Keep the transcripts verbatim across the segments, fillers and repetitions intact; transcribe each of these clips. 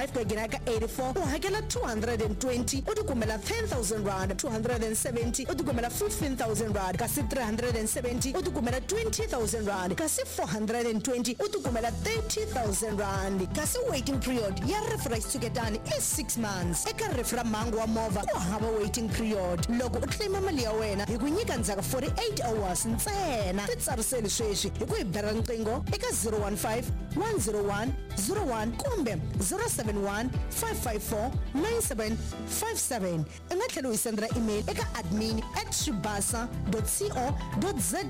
Ku ya nghena ka eighty-four u hakela two hundred and twenty u tikumela ten thousand rand, two hundred and seventy u tikumela fifteen thousand rand, kasi three hundred and seventy u tikumela twenty thousand rand, kasi four hundred and twenty u tikumela thirty thousand rand. Kasi waiting period ya rifu ra xitshuketani i six months. Eka rifu ra mhangu wa movha ku hava waiting period. Loko u claima mali ya wena hi ku nyika ndzhaku forty-eight hours ntsena. Titsariseli sweswi hi ku hi bela riqingho eka zero one five, one zero one, zero one kumbe zero seven one, five five four, nine seven five seven. U nga tlhela u hi sendela email eka admin at swibasa dot co dot za.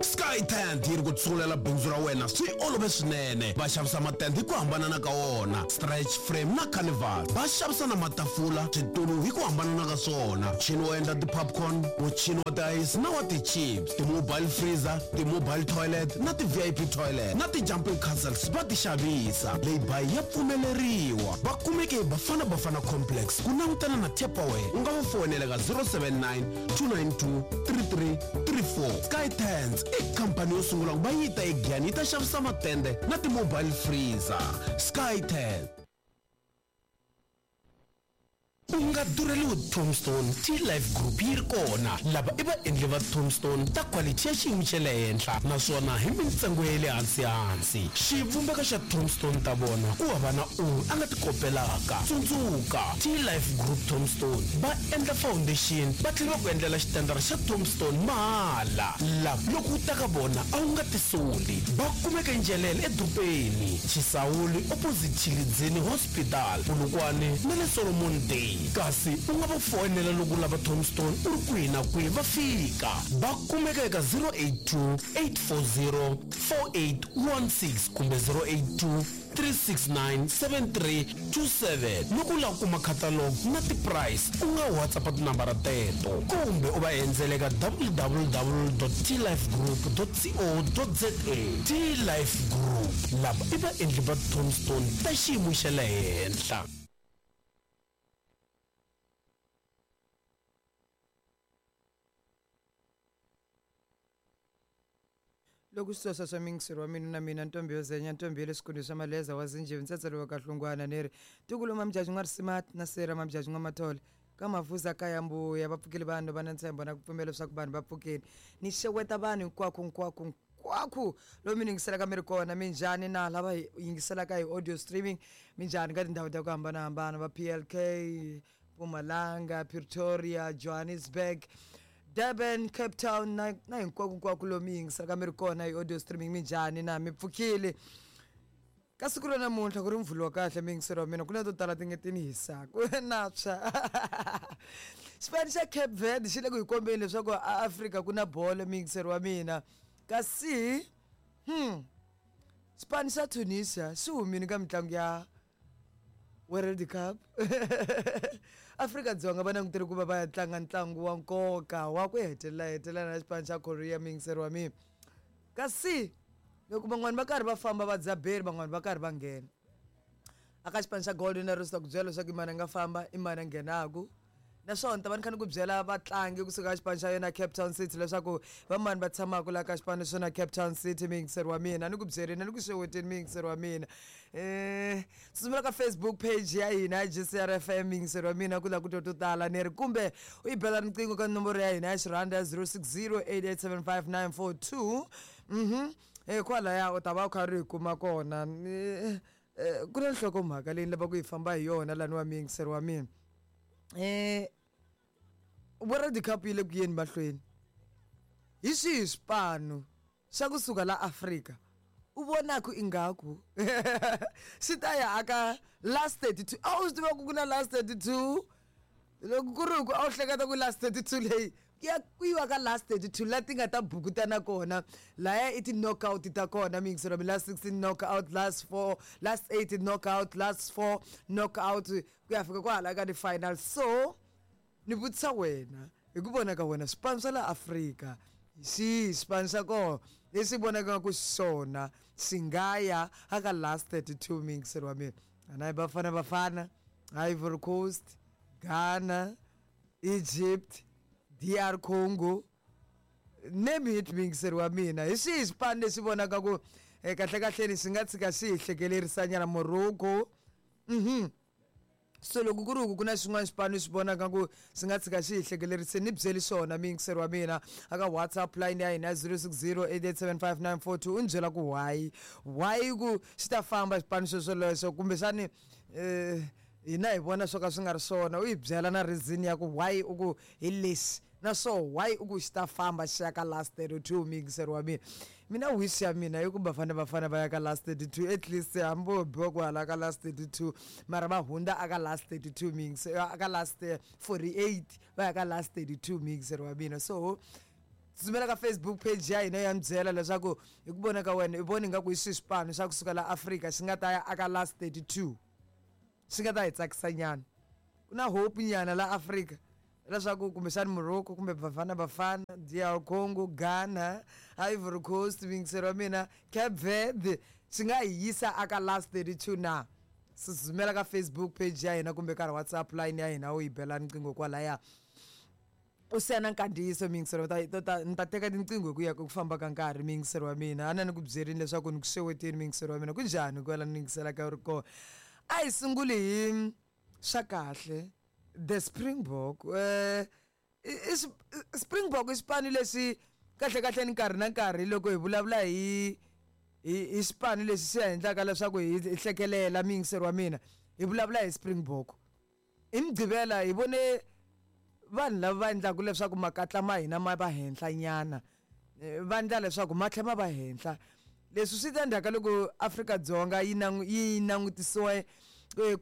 Sky Tent yi ri ku tsungulela bindzu ra wena swi olove swinene. Va xavisa matende hi ku hambanana ka wona, stretch frame na carnival. Va xavisa na matafula, switulu hi ku hambanana ka swona, muchini wo endla ti-popcorn, muchini wa ti-ice na wa ti-chips, ti-mobile freezer, ti-mobile toilet na ti-V I P toilet na ti-jumping castles va ti xavisa. Leyi ya pfumeleriwa. Va kumeke hi Bafana Bafana Complex ku langutana na Tupperware. U nga va foyinela ka zero seven nine, two nine two, three three three four. Sky Tents i khampani yo sungula ku va yi ta eGiyani yi ta xavisa matende na ti-mobile freezer. Sky Tent. U nga durheliwi Tombstone, T-Life Group yi ri kona. Lava i vaendli va Tombstone ta quality ya xiyimo xa le henhla naswona hi mintsengo ya le hansi hansi. Xivumbeko xa Tombstone ta vona ku hava na un'we a nga ti kopelaka. Tsundzuka, T-Life Group Tombstone va endla foundation va tlhela va ku endlela xitandara xa Tombstone mahala. Lava loko u ta ka vona a wu nga tisoli. Va kumeka eNjelele edorobeni, Chisawuli opposite Tshilidzini Hospital, Polokwane na le Solomon Day. Kasi u nga va foyinela loko u lava Tombstone u ri kwihi na kwihi va fika. Va kumeka eka zero eight two, eight four zero, four eight one six kumbe zero eight two, three six nine, seven three two seven. Loko u lava ku kuma catalog na ti-price u nga WhatsApp tinambara teto kumbe u va endzela eka w w w dot t life group dot co dot za. T-Life Group, lava i vaendli va Tombstone ta xiyimo xa le henhla. Loko swi swa mingisero wa mina na mina ntombi yo zenya ntombi ya le swikundu swa maleza wa zinjhevi ntsetselo wa kahlungwana ni ri tikulu mamjaji n'wa risima na sera mamjaji n'wa mathole ka mavuza ka ya mbuya va pfukile vanhu va na ntshembo na ku pfumela leswaku vanhu va pfukile. Ni xeweta vanhu hinkwako hinkwako hinkwako lomu mi yingiselaka mi ri kona. Minjhani na lava hi yingiselaka hi audio streaming, minjhani ka tindhawu ta ku hambanahambana, va P L K, Mpumalanga, Pretoria, Johannesburg, Durban, Cape Town na, na hinkwako hinkwako lomu mi yingiselaka mi ri kona hi audio streaming. Minjhani na mi pfukile? Ka siku ra namuntlha ku ri mvhulo wa kahle miyingiselo wa mina, ku na to tala ti nge ti ni hisaka na tshwa. Xipano xa Cape Verde xi le ku hi kombeni leswaku a Afrika ku na bolo miyingiselo wa mina. Kasi hmm xipano xa Tunisia xi humile ka mitlangu ya World Cup. Afrika-Dzonga va langutele ku va va ya tlanga ntlangu wa nkoka wa ku hetelela hetelela na xipano xa Korea miyingiselo wa mina. Kasi loko van'wani va karhi va famba va dzaberi, van'wani va karhi va nghena aka xipano xa Golden Arrows, ta ku byela leswaku i mani a nga famba, i mani a nghenaku. Naswona ni ta va ni kha ni ku byela vatlangi kusuka ka xipano xa yona Cape Town City leswaku va mani va tshamaka laha ka xipano xa yona Cape Town City miyingiseri wa mina. Ni ku byeleni, ni ku xeweteni miyingiseri wa mina. Eh, tsutsumela ka Facebook page ya hina ya G C R F M miyingiseri wa mina ku la ku twa to tala ni ri, kumbe u yi bela riqingho ka nomboro ya hina ya xirhanda ya zero six zero, eight eight seven five nine four two. Mhm. Eh, kwalaya u ta va u kha ri hi kuma kona. Eh, eh, ku na nhlokomhaka leyi ni lavaka ku yi famba hi yona lani wa miyingiseri wa mina. Eh, World Cup yi le ku yeni mahlweni. Hi swihi swipano swa kusuka la Afrika u vonaka ingaku swi ta ya aka last thirty-two? A wu swi tiva ku ku na last thirty-two? Loko ku ri ku a wu hleketa ku last thirty-two leyi ya ku yiwa ka last thirty-two la ti nga ta bukutana kona, laya i ti-knockout ta kona miyingiselo mi last sixteen knockout, last four, last eight knockout, last four knockout ku ya fika kwahala ka ti-final. So ni vutisa wena hi ku vona ka wena swipano swa la Afrika hi xihi xipano xa kona lexi vonakaka ku xona xi nga ya aka last thirty-two miyingiselo wa mina? A na hi Bafana Bafana, Ivory Coast, Ghana, Egypt, D R Congo, name it miyingiselo wa mina. Hi xihi xipano lexi vonaka ku, eh, kahle kahleni xi nga tshika xi hi hlekelerisanyana? Morocco. Mhm. So loko ku ri ku ku na xin'wana xipano xi vonaka ku swi nga tshika xi hi hlekelerisini, ni byeli xona muyingiseri wa mina aka WhatsApp line ya hina zero six zero eight eight seven five nine four two, u ni byela ku why why ku xi ta famba xipano xo xolexo, kumbexani um hina hi vona swo ka swi nga ri swona. U hi byela na reason ya ku why u ku hi lexi, na swo why u ku xi ta famba xi ya ka last thirty-two. Muyingiseri wa mina, mina wish ya mina i ku Bafana Bafana va ya ka last thirty-two, at least hambi vo biwa ku hala ka last thirty-two, mara va hundza aka last thirty-two, muyingiseri, aka last forty-eight, va ya ka last thirty-two, muyingiseri wa mina. So tsutsumela ka Facebook page ya hina ya mi byela leswaku hi ku vona ka wena i vona ingaku hi swihi swipano swa kusuka la Afrika xi nga ta ya aka last thirty-two, xi nga ta hi tsakisa nyana. Ku na hope nyana la Afrika leswaku kumbexani Morocco kumbe Bafana Bafana, D R Congo, Ghana, Ivory Coast, muyingiseri wa mina, Cape Verde, xi nga hi yisa aka last thirty-two na. Tsutsumela ka Facebook page ya hina kumbe ka WhatsApp line ya hina, u yi bela riqingho kwalaya, u siya na nkandziyiso muyingiseri wa ta, ta, ni ta teka tinqingho hi ku ya ku famba ka nkarhi muyingiseri wa mina. A na ni ku byerini leswaku ni ku xeweteni muyingiseri wa mina, ku njhani kwala ni yingiselaka u ri kona. A hi sunguli hi swa kahle. The Springbok, eh, i, i, Springbok i xipano lexi kahle kahle ni nkarhi na nkarhi loko hi vulavula hi, hi, hi xipano lexi xi endlaka leswaku hi, hi hlekelela muyingiseri wa mina, hi vulavula hi Springbok. Hi Mugqivela hi vone vanhu lava va endlaka leswaku makatla ma hina ma va henhla nyana, va endla leswaku ma tlhela ma va henhla. Leswi swi ta endzhaku ka loko Afrika-Dzonga yi nangu-, yi langutisiwe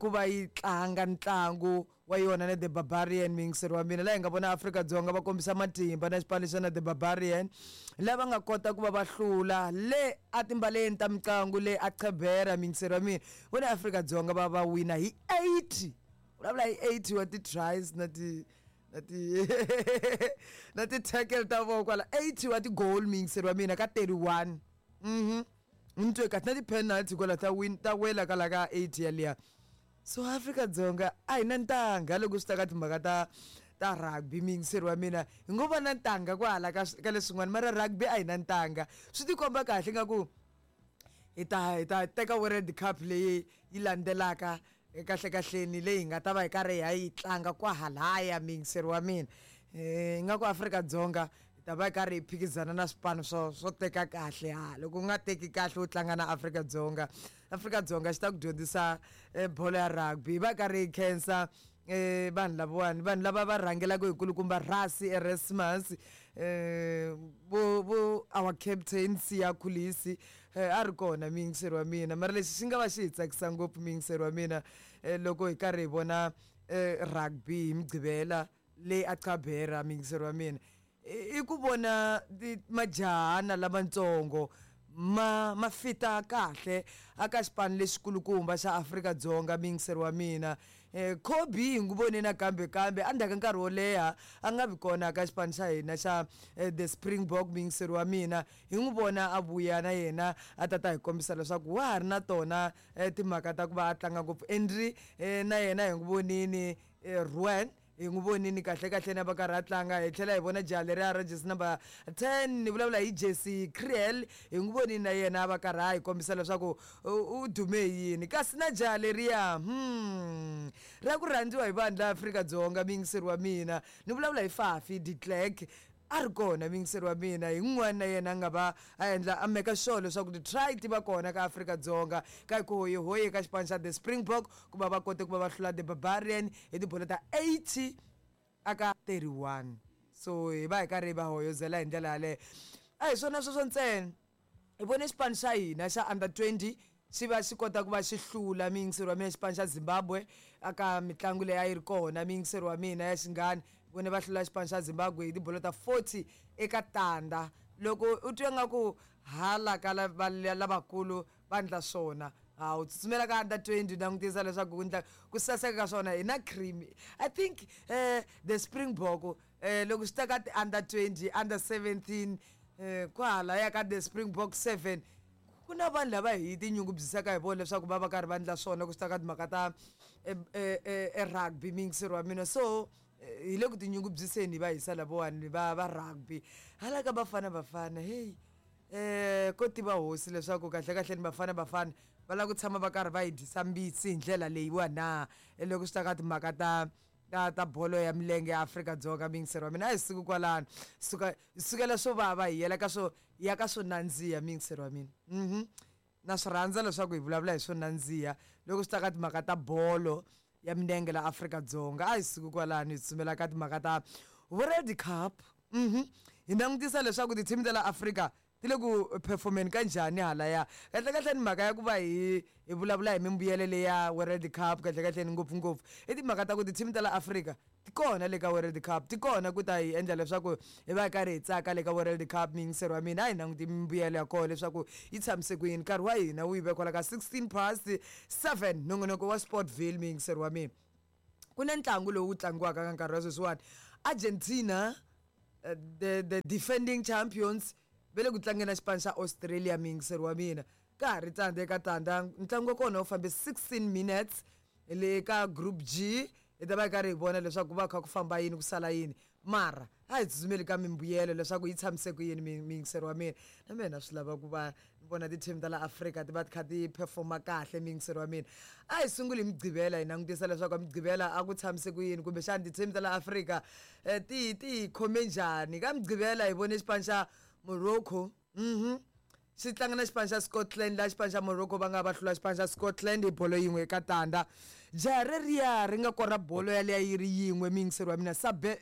ku va yi tlanga ntlangu wa yona na The Barbarian, muyingiseri wa mina, laha hi nga vona Afrika-Dzonga va kombisa matimba na xipano xa na The Barbarian, lava nga kota ku va va hlula le a timbaleni ta mitlangu le a Gqeberha, muyingiseri wa mina. Vona Afrika-Dzonga va va wina hi eighty, vulavula hi eighty wa ti-tries na ti, na ti na ti-tackle ta vona kwala, eighty wa ti-goal muyingiseri wa mina ka thirty-one. Mhm. Ni twe kahle na ti-penalty kwala ta win, ta wela kwala ka eighty yaliya. So Afrika-Dzonga a hi na ntanga loko swi ta ka timhaka ta, ta rugby muyingiseri wa mina. Hi ngo va na ntanga kwahala ka, ka leswin'wana, mara rugby a hi na ntanga. Swi tikomba kahle nga ku hi ta, hi ta teka World Cup leyi yi landzelaka kahle kahleni, leyi hi nga ta va hi karhi hi ya yi tlanga kwahalaya muyingiseri wa mina. Eh, ingaku Afrika-Dzonga hi ta va hi karhi hi phikizana na swipano swo, swo teka kahle. Ha, loko u nga teki kahle u tlanga na Afrika-Dzonga, Afrika-Dzonga xi ta ku dyondzisa, eh, bolo ya rugby. Hi va karhi hi khensa, eh, vanhu lavawani, vanhu lava va rhangelaka hi kulukumba Rassie Erasmus, eh, vo, vo our captain Siya Kolisi, eh, a ri kona muyingiseri wa mina. Mara lexi xi nga va xi hi tsakisa ngopfu muyingiseri wa mina, eh, loko hi karhi hi vona, eh, rugby hi Mugqivela le a Gqeberha muyingiseri wa mina, i ku vona majahana lamatsongo ma, ma fita kahle aka xipano lexikulukumba xa Afrika-Dzonga muyingiseri wa mina. Eh, Kobe hi n'wi vone nakambe kambe endzhaku ka nkarhi wo leha a nga vi kona ka xipano xa hina xa, eh, The Springbok muyingiseri wa mina. Hi n'wi vona a vuya na yena a ta ta hi kombisa leswaku wa ha ri na tona, eh, timhaka ta ku va a tlanga ngopfu. Henry, eh, na yena hi n'wi vonini, eh, Ruan hi n'wi vonini kahle kahle na va karhi a tlanga. Hi tlhela hi vona jaha leriya ra jersey number ten, ni vulavula hi Jesse Kriel, hi n'wi vonini na yena va karhi a hi kombisa leswaku u, u dume yini. Kasi na jaha leriya, hmm, ra ku rhandziwa hi vanhu la Afrika-Dzonga muyingiseri wa mina, ni vulavula hi Faf de Klerk, a ri kona muyingiseri wa mina. Hi n'wana na yena a nga va a endla a make sure leswaku ti-try ti va kona ka Afrika-Dzonga ka ku hoyihoyi ka xipano xa The Springbok ku va va kote ku va va hlula The Barbarian hi tibolo ta eighty aka thirty-one. So hi va hi karhi hi va hoyozela hi ndlela yaleyo. A hi swona sweswo ntsena, hi vone xipano xa hina xa under twenty xi va xi kota ku va xi hlula muyingiseri wa mina xipano xa Zimbabwe aka mitlangu leyi a yi ri kona muyingiseri wa mina ya xinghana. Vone va hlula xipano xa Zimbabwe hi tibolo ta forty eka tandza. Loko u twa nga ku hala ka lava, lavakulu va endla swona, ha u tsutsumela ka under twenty u langutisa leswaku ku endla ku saseka ka swona hi na cream. I think, eh, the Springbok, eh, loko swi ta ka ti under twenty, under seventeen, eh, kwahalaya ka the Springbok seven, ku na vanhu lava hi tinyungubyisaka hi vona leswaku va va karhi va endla swona ku swi ta ka timhaka ta, eh, eh, eh, eh, rugby muyingiseri wa mina. So hi le ku tinyungubyiseni hi va hisa lavawani va, va rugby. Hala ka Bafana Bafana, hey, eh, ko tiva hosi leswaku kahle kahle ni Bafana Bafana Va lava ku tshama va karhi va hi dyisa mbitsi hi ndlela leyiwa na loko swi ta ka timhaka ta ta ta bolo ya milenge ya Afrika-Dzonga muyingiseri wa mina a hi suki kwalano suka sukela swo vava hi yela ka swo ya ka swo nandziha muyingiseri wa mina mhm na swi rhandza leswaku hi vulavula hi swo nandziha loko swi ta ka timhaka ta bolo ya milenge la Afrika-Dzonga a hi suki kwalano hi tsutsumela ka timhaka ta World Cup mhm hi langutisa leswaku ti-team ta la Afrika ti le ku performeni ka njhani halaya kahle kahle ni mhaka ya ku va hi hi vulavula hi mimbuyelo leya World Cup kahle kahle ni ngopfungopfu i timhaka ta ku ti-team ta la Afrika ti kona le ka World Cup ti kona ku ta hi endla leswaku hi va hi karhi hi tsaka le ka World Cup muyingiseri wa mina a hi languti mimbuyelo ya kona leswaku yi tshamise ku yini nkarhi wa hina wu yi ve kwala ka sixteen past seven nongonoko wa Sportville muyingiseri wa mina ku na ntlangu lowu tlangiwaka ka nkarhi wa sweswiwani Argentina uh, the the defending champions ve le ku tlangeni na xipano xa Australia muyingiseri wa mina ka ha ri tandza eka tandza ntlangu wa kona wu fambe sixteen minutes le ka group G hi ta va hi karhi hi vona leswaku ku va kha ku famba yini ku sala yini mara a hi tsutsumeli ka mimbuyelo leswaku yi tshamise ku yini muyingiseri wa mina na mina swi lava ku va ni vona ti-team ta la Afrika ti va ti kha ti performa kahle muyingiseri wa mina a hi sunguli hi Mugqivela hi langutisa leswaku a Mugqivela a ku tshamise ku yini kumbexana ti-team ta la Afrika ti ti hi khome njhani ka Mugqivela hi vone xipano xa Morocco mhm xi tlanga na xipano xa Scotland laha xipano xa Morocco va nga va hlula xipano xa Scotland hi bolo yin'we eka tandza jaha reriya ri nga kora bolo yaliya yi ri yin'we muyingiseri wa mina Sabe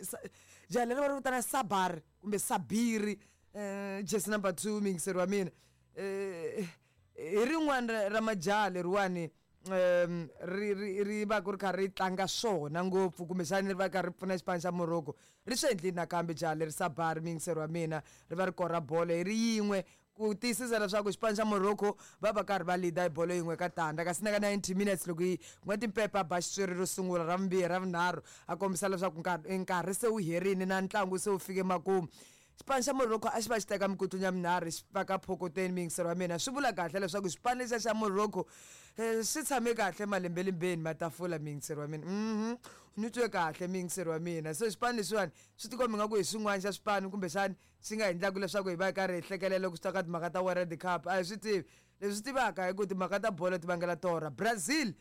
jaha leri va ri vitana Sabar kumbe Sabiri eh jersey number two muyingiseri wa mina eh hi rin'wana ra majaha leriwani um ri ri ri va ku ri kha ri tlanga swona ngopfu kumbexani ri va kha ri pfuna xipano xa Morocco ri swi endlile nakambe jaha leri Sabar muyingiseri wa mina ri va ri kora bolo hi ri yin'we ku tiyisisa leswaku xipano xa Morocco va va karhi va leader hi bolo yin'we ka tandza kasi na ka ninety minutes loko yi ku nga timpepe a ba xitsweri ro sungula ra vumbirhi ra vunharhu a kombisa leswaku nkarhi nkarhi se wu herini na ntlangu se wu fike makumu xipano xa Morocco a xi va xi teka mikutlunya minharhu xi faka phokoteni muyingiseri wa mina swi vula kahle leswaku xipano lexiya xa Morocco swi tshame kahle malembelembeni matafula muyingiseri wa mina mhm ni twe kahle muyingiseri wa mina so xipano lexiwani swi tikomba ingaku hi xin'wana xa swipano kumbexani xi nga endlaka leswaku hi va hi karhi hi hlekelela loko swi ta ka timhaka ta World Cup a hi swi tivi leswi tivaka hi ku timhaka ta bolo ti vangela torha Brazil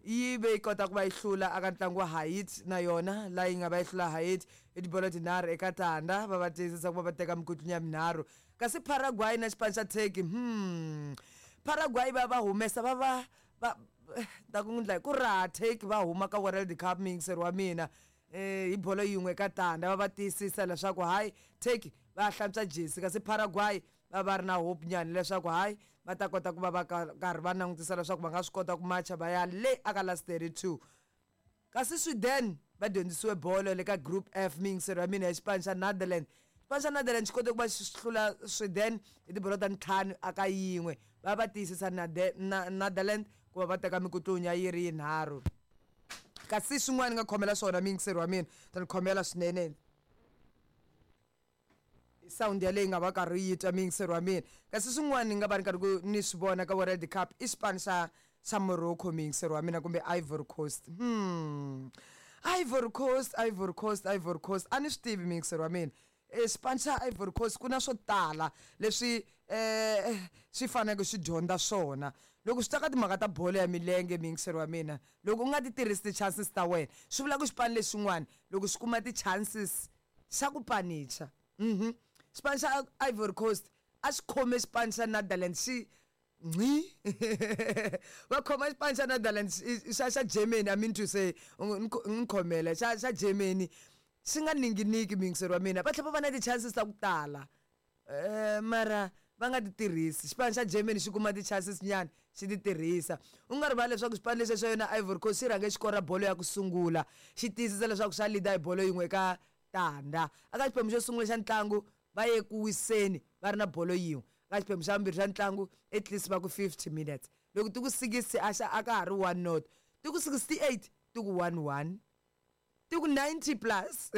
yi ve yi kota ku va yi hlula aka ntlangu wa Haiti na yona laha yi nga va yi hlula Haiti hi tibolo tinharhu eka tandza va va tiyisisa ku va va teka mikutlunya minharhu kasi Paraguay na xipano xa Turkey hmm Paraguay va va humesa va va va ta ku ndla ku raha Turkey va huma ka World Cup muyingiseri wa mina eh hi bolo yin'we ka tandza va va tiyisisa leswaku hayi Turkey va hlantswa jesi kasi Paraguay va va ri na hope nyana leswaku hayi va ta kota ku va va karhi va langutisa leswaku va nga swi kota ku macha va ya le aka last thirty-two kasi Sweden va dyondzisiwe bolo le ka group F muyingiseri wa mina hi xipano xa Netherlands xipano xa Netherlands xi kote ku va xi hlula Sweden hi tibolo ta ntlhanu aka yin'we va va tiyisisa Netherlands ku va va teka mikutlunya yi ri yinharhu kasi swin'wana ni nga khomela swona muyingiseri wa mina ta ni khomela swinene sound ya leyi nga va karhi yi twa muyingiseri wa mina kasi swin'wana ni nga va ni karhi ku ni swi vona ka World Cup i xipano xa xa Morocco muyingiseri wa mina kumbe Ivory Coast hmm Ivory Coast Ivory Coast Ivory Coast a ni swi tivi muyingiseri wa mina xipano xa Ivory Coast ku na swo tala leswi eh swi faneleke swi dyondza swona loko swi ta ka timhaka ta bolo ya milenge muyingiseri wa mina loko u nga ti tirhisi ti-chances ta wena swi vula ku xipano lexin'wana loko xi kuma ti-chances xa ku panicha mhm xipano xa Ivory Coast a xi khome xipano xa Netherlands xi nqi va khoma xipano xa Netherlands xa xa Germany I mean to say ni khomela xa xa Germany xi nga ninginiki muyingiseri wa mina va tlhela va va na ti-chances ta ku tala eh mara va nga ti tirhisi xipano xa Germany xi kuma ti-chances nyana xi ti tirhisa u nga rivali leswaku xipano lexi xa yona Ivory Coast xi rhange xi kora bolo ya ku sungula xi tiyisisa leswaku xa leader hi bolo yin'we eka tandza aka xiphemu xo sungula xa ntlangu va ye ku wiseni va ri na bolo yin'we ka xiphemu xa vumbirhi xa ntlangu at least va ku fifty minutes loko ti ku sixty a xa a ka ha ri one not ti ku sixty-eight ti ku one one Ti ku ninety plus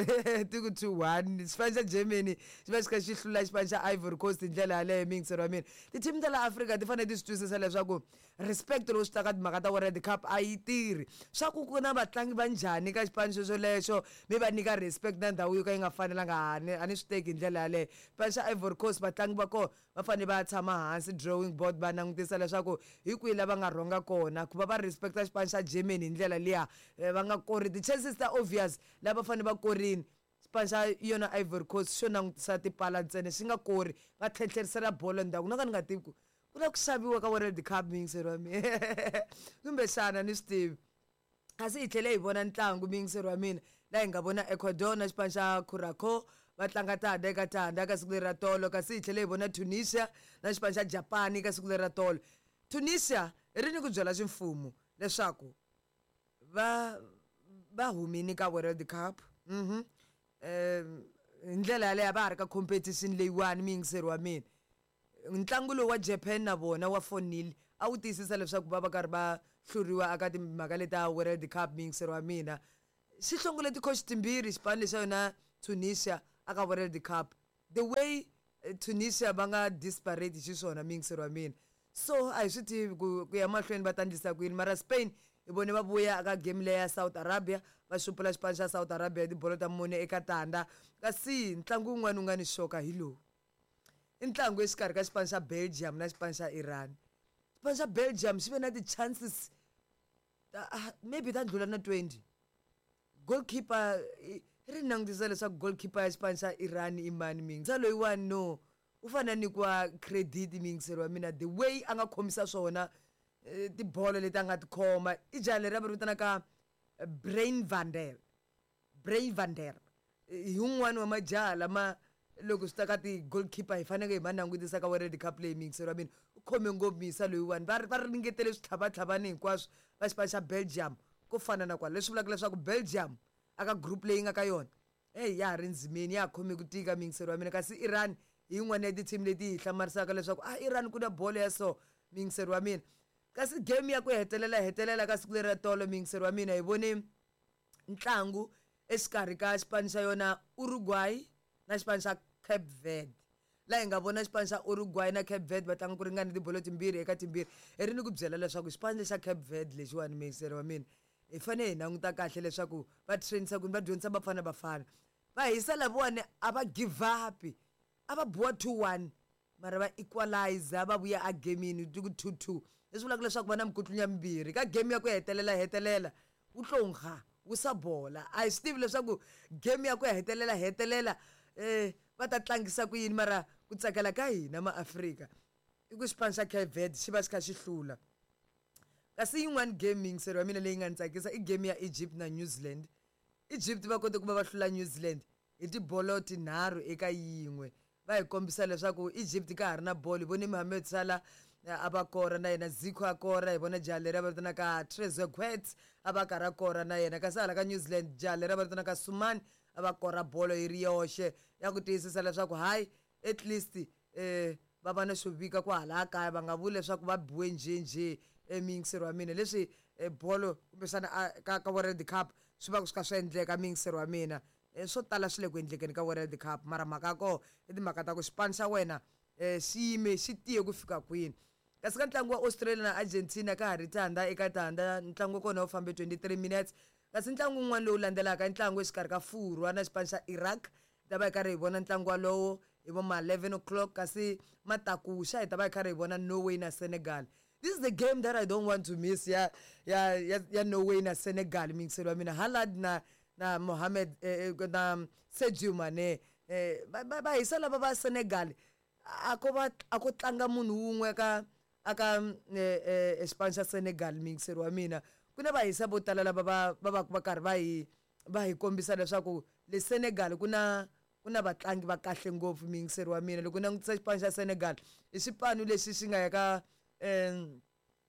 ti ku two one. Xipano xa Germany xi va xi kha xi hlula xipano xa Ivory Coast hi ndlela yaleyo, miyingiseri wa mina. Ti-team ta la Afrika ti fanele ti swi twisisa leswaku respect loko swi ta ka timhaka ta World Cup a yi tirhi. Swa ku ku na vatlangi va njhani ka xipano xo xolexo, mi va nyika respect na ndhawu yo ka yi nga fanelanga, a ni a ni swi teki hi ndlela yaleyo. Xipano xa Ivory Coast, vatlangi va kona va fanele va ya tshama hansi drawing board, va langutisa leswaku hi kwihi la va nga rhonga kona ku va va respecta xipano xa Germany hi ndlela liya. Eh, va nga kori ti-chances ta obvious lava fanele va korini. Xipano xa yona Ivory Coast xo langutisa tipala ntsena, xi nga kori, va tlhentlherisela bolo ndzhaku. No ka ni nga tivi ku ku na ku xaviwa ka World Cup, miyingiseri wa mina, kumbexana ni swi tivi. Kasi hi tlhele hi vona ntlangu, miyingiseri wa mina, laha hi nga vona Ecuador na xipano xa Curacao va tlanga tanda eka tanda ka siku leri ra tolo. Kasi hi tlhele hi vona Tunisia na xipano xa Japan ka siku leri ra tolo. Tunisia ri ni ku byela ximfumo leswaku va va humini ka World Cup. Mhm um hi ndlela yaleyo va ha ri ka competition leyiwani, miyingiseri wa mina. Ntlangu lowu wa Japan na vona wa four nil a wu tiyisisa leswaku va va karhi va hluriwa aka timhaka leta World Cup, miyingiseri wa mina. Xi hlongole ti-coach timbirhi xipano lexa yona Tunisia aka World Cup. The way eh, Tunisia va nga disparate xiswona, miyingiseri wa mina, so a hi swi tivi ku ku ya mahlweni va ta endlisa ku yini. Mara Spain hi vone va vuya aka game leya South Arabia, va xupula xipano xa South Arabia hi tibolo ta mune eka tanda. Kasi ntlangu wun'wana wu nga ni xoka hi lowu, i ntlangu exikarhi ka xipano xa Belgium na xipano xa Iran. Xipano xa Belgium xi ve na ti-chances ta, ah, maybe ta ndlula na twenty. Goalkeeper i- ri langutisa leswaku goalkeeper ya xipano xa Iran i mani mingi sa loyiwani, no u fanele a nyikiwa credit, miyingiseri wa mina, the way a nga khomisa swona eh, tibolo leti a nga ti khoma. I jaha leri va ri vitanaka eh, Brain Vander Brain Vander, hi wun'wani wa majaha lama loko swi ta ka ti-goalkeeper hi faneke hi ma langutisa ka World Cup leyi, miyingiseri wa mina. U khome ngopfu miyisa loyiwani. Va va ringetele switlhavatlhavani hinkwaswo va xipano xa Belgium ko fana na kwala, leswi vulaka leswaku Belgium aka group leyi nga ka yona, eyi, ya ha ri ndzimeni, ya ha khome ku tika, miyingiseri wa mina. Kasi Iran hi yin'wana ya ti-team leti hi hlamarisaka leswaku a Iran ku na bolo ya so, miyingiseri wa mina. Kasi game ya ku hetelela hetelela ka siku leri ra tolo, miyingiseri wa mina, hi vone ntlangu exikarhi ka xipano xa yona Uruguay na xipano xa Cape Verde, laha hi nga vona xipano xa Uruguay na Cape Verde va tlanga ku ringana tibolo timbirhi eka timbirhi. Hi ri ni ku byela leswaku xipano lexa Cape Verde lexiwani, miyingiseri wa mina, hi fanele hi languta kahle leswaku va trainisa kwini, va dyondzisa Bafana Bafana. Va hisa lavawani, a va give up, a va biwa two one mara va equalizer, va vuya a gamini ti ku two two, leswi vulaka leswaku va na mikutlunya mimbirhi ka game ya ku hetelela hetelela. Wu tlonga wu sa bola, a hi swi tivi leswaku game ya ku hetelela hetelela eh va ta tlangisa ku yini. Mara ku tsakela ka hina maAfrika i ku xipano xa Cape Verde xi va xi kha xi hlula. Kasi yin'wani game, miyingiseri wa mina, leyi nga ni tsakisa i game ya Egypt na New Zealand. Egypt va kote ku va va hlula New Zealand hi tibolo tinharhu eka yin'we. Va hi kombisa leswaku Egypt ka ha ri na bolo. Hi vone Mohamed Salah eh, a va kora na yena, Zico a kora, hi vona jaha leri a va vitanaka Trezeguet a va karhi a kora na yena. Kasi hala ka New Zealand, jaha leri a va vitanaka Sumani a va kora bolo yi ri yoxe ya ku tiyisisa leswaku hayi, at least eh va va na xo vika kwahala kaya, va nga vuli leswaku va biwe njhenjhe, emiyingiseri wa mina. Leswi eh, bolo kumbexana a- ka ka World Cup swi va swi kha swi endleka, miyingiseri wa mina. Eh, swo tala swi le ku endlekeni ka World Cup, mara mhaka ya koho i timhaka ta ku xipano xa wena um xi yime xi tiye ku fika kwini. Kasi ka ntlangu wa Australia na Argentina ka ha ri tanda eka tanda, ntlangu wa kona wu fambe twenty-three minutes. Kasi ntlangu wun'wana lowu landzelaka i ntlangu exikarhi ka Furwa na xipano xa Iraq. Hi ta va hi karhi hi vona ntlangu walowo hi vo ma eleven o'clock. Kasi matakuxa hi ta va hi karhi hi vona Norway na Senegal. This is the game that I don't want to miss, ya ya ya, ya Norway na Senegal, miyingiseri wa mina. Haaland na na Mohamed eh, eh, na Sadio Mane eh, va va- va hisa lava va Senegal. A ko va a ko tlanga munhu wun'we ka aka eh, eh, xipano xa Senegal, miyingiseri wa mina. Ku na vahisa vo tala lava va va va va karhi va hi va hi kombisa leswaku le Senegal ku na ku na vatlangi va kahle ngopfu, miyingiseri wa mina. Loko u langutisa xipano xa Senegal, i xipano lexi xi nga ya ka um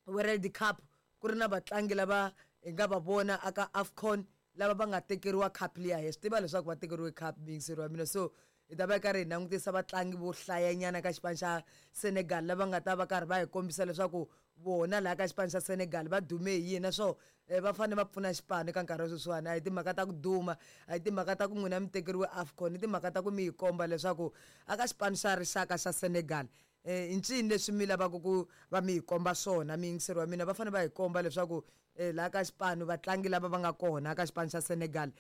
World Cup ku ri na vatlangi lava hi nga va vona aka AFCON lava va nga tekeriwa cup liya. Hi swi tiva leswaku va tekeriwe cup, miyingiseri wa mina. So hi ta va hi karhi hi langutisa vatlangi vo hlayanyana ka xipano xa Senegal lava nga ta va karhi va hi kombisa leswaku vona laha ka xipano xa Senegal va dume hi yini naswona va fanele va pfuna xipano eka nkarhi wa sweswiwani. A hi timhaka ta ku duma, a hi timhaka ta ku n'wina mi tekeriwe AFCON, i timhaka ta ku mi yi komba leswaku aka xipano xa rixaka xa Senegal i ncini leswi mi lavaka ku va mi hi komba swona. Miyingiseri wa mina va fanele va hi komba leswaku laha ka xipano vatlangi lava va nga kona ka xipano xa Senegal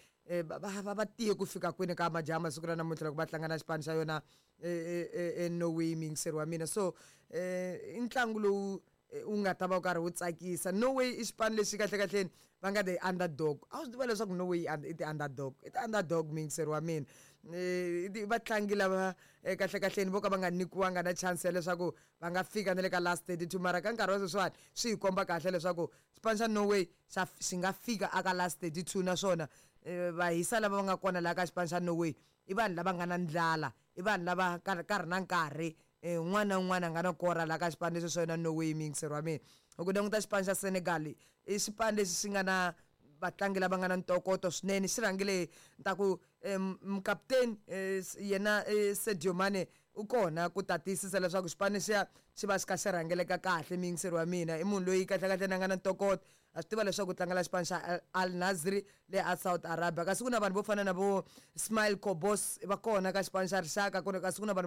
va va va tiye ku fika kwini ka majaha masiku ra namuntlha loko va tlanga na xipano xa yona Norway, muyingiseri wa mina. So i ntlangu lowu wu nga ta va wu karhi wu tsakisa. Norway i xipano lexi kahlekahleni va nga the underdog. A wu swi tiva leswaku Norway i ti-underdog, i ti-underdog muyingiseri wa mina. I vatlangi lava kahlekahleni vo ka va nga nyikiwanga na chance ya leswaku va nga fika na le ka last thirty two, mara ka nkarhi wa sweswiwani swi hi komba kahle leswaku xipano xa Norway xa xi nga fika aka last thirty two. Naswona vahisa lava va nga kona laha ka xipano xa Norway i vanhu lava nga na ndlala, i vanhu lava nkarhi na nkarhi un'wana na un'wana a nga na kora laha ka xipano lexi xa yona Norway, muyingiseri wa mina. Loko u languta xipano xa Senegal i xipano lexi xi nga na vatlangi lava nga na ntokoto swinene, xi rhangile ni ta ku mukaputeni yena Sadio Mane u kona ku ta tiyisisa leswaku xipano lexiya xi va xi kha xi rhangeleka kahle. Muyingiseri wa mina i munhu loyi kahlekahle a nga na ntokoto, a swi tiva leswaku u tlangela xipano xa Al Nassr le a South Arabia. Kasi ku na vanhu vo fana na vo Ismail Kobos va kona ka xipano xa rixaka, ku kasi ku na vanhu